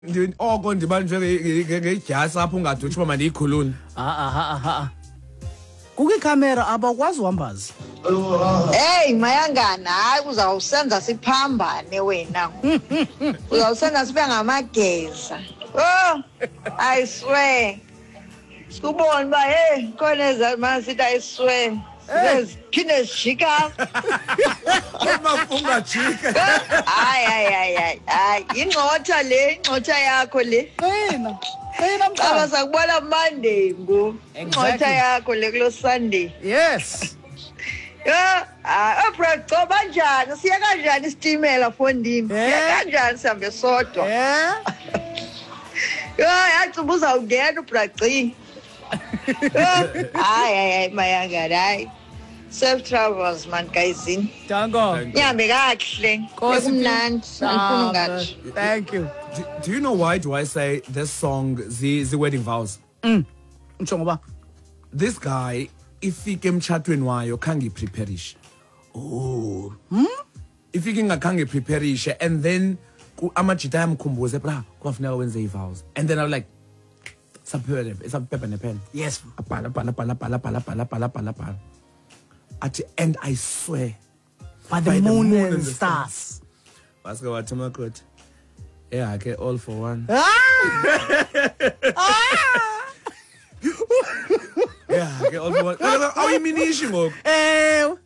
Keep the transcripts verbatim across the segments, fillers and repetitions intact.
Ndi- oko ndibanjwe ngedyasi apho ungade utsho uba mandiyikhulule. Ha ha ha, kukho ikhamera, abakwazi uhambazi. Hey Mayangana, hayi, uzawusenza siphambane wena. Uzawusenza sibe ngamageza. Oh, I swear. Sikubona uba hey, khona ezamana sithi I swear. Siphinde sijika. Ungajika. Hayi hayi hayi hayi. Hayi, ingxotha le, ingxotha yakho le. Qina qina. Caba Mntana. Sakubona Monday ngoku. Ingxotha Exactly. yakho le kulo Sunday. Yes. Ya, hayi, oh bro, kanjani? Siya kanjani isitimela, fondini? Siya Eh? kanjani sihambe sodwa? Eh. Ya, yathi uzawungena uBragci. Hayi hayi hayi Mayangana, hayi. Safe travels man, guyzini. Danko. Nihambe kakuhle. Nkosi. Kumnandi, andifuni ungatsho. Thank you. do, do you know why do I say this song zi, zi wedding vows? Utsho ngoba This guy ifike emtshatweni wayo khange ipreparishe. Oh. Ifike ingakhange ipreparishe, and then ku- amajita ayamkhumbuze, "Bra, kwafuneka wenze ii-vows," and then I'm like, saphepha nepen. Yes. Abhala, bhala, bhala, bhala, bhala, bhala, bhala, bhala, bhala, athi, "And I swear by the by the moon moon and and the stars." Waske wathi makoti, "Yeah ke, all for one." Ah! Ah! Yeah ke, all for one. Awuyiminishi ngoku. Ewe.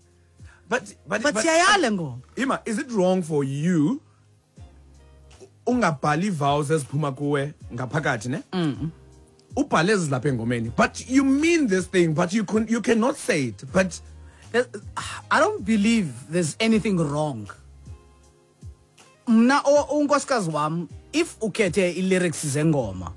but but But siyayale ngoma. Ima, is it wrong for you ungabhali vows eziphuma kuwe ngaphakathi, ne? Ubhale ezilapha engomeni, but you mean this thing, but you can, you cannot say it, but There- I don't believe there's anything wrong. Mna o- unkosikazi wam, if ukhethe i-lyrics zengoma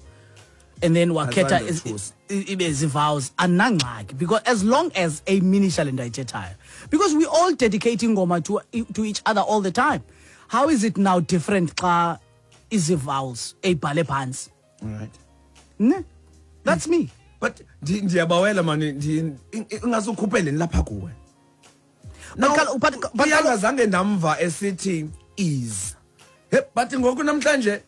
and then wakhetha Azange iz- uthusa. i- ibe zi-vows, andinangxaki, because as long as eyiminisha le nto ayithethayo, because we all dedicate ingoma to, to each other all the time, how is it now different xa izi-vows eyibhale phantsi? All right. Ne, that's me. But ndi- ndiyabawela mani, ndi- in- ingasukhuphele lapha kuwe. But kalo- but- but kalo- Uyangazange ndamva esithi is. He, but ngoku namhlanje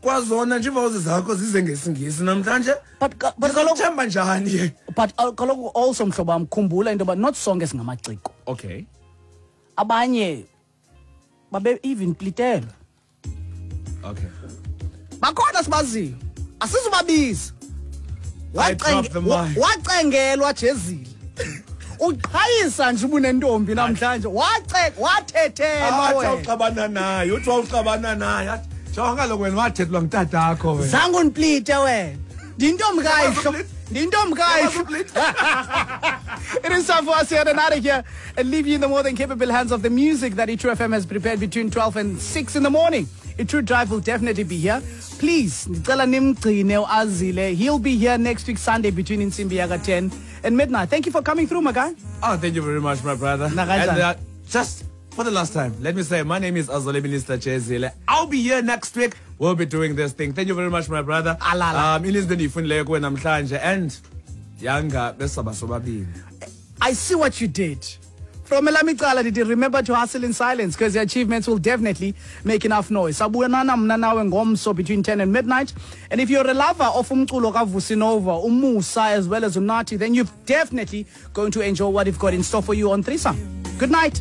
kwazona nje ivows zakho zize ngesingisi namhlanje. But ka- but kaloku- Ndizawuthemba njani? But uh, kaloku also, mhlobo wam, khumbula into yoba not sonke singamaciko. Okay. Abanye babe even plitelwe. Okay. Bakhona sibaziyo, asizubabiza. I drop the mic. Wacengelwa jezile, uqhayisa nje ubunentombi namhlanje, wace wathethelwa Athi wena. awuxabana naye, uthi wawuxabana naye, athi, "Jonga kaloku wena, wathethelwa ngutatakho wena." Zange undiplite wena, ndiyintombi kayihlo, ndiyintombi kayihlo. It is time for us to head out of here and leave you in the more than capable hands of the music that iTru F M has prepared between twelve and six in the morning. iTru Drive will definitely be here. Please, ndicela nimgcine uAzile. He'll be here next week Sunday between intsimbi yaka ten and midnight. Thank you for coming through, my guy. Oh, thank you very much, my brother. Nakanjani? And uh, just for the last time, let me say my name is Azole Minister Jezile. I'll be here next week. We'll be doing this thing. Thank you very much, my brother. Alala. Um, ininzi into endiyifundileyo kuwe namhlanje and yanga besaba sobabini. I see what you did. From elam icala ndithi remember to hustle in silence, because your achievements will definitely make enough noise. Sabonana mna nawe ngomso between ten and midnight. And if you're a lover of umculo kaVusi Nova, uMusa as well as uNathi, then you're definitely going to enjoy what we've got in store for you on Threesome. Good night.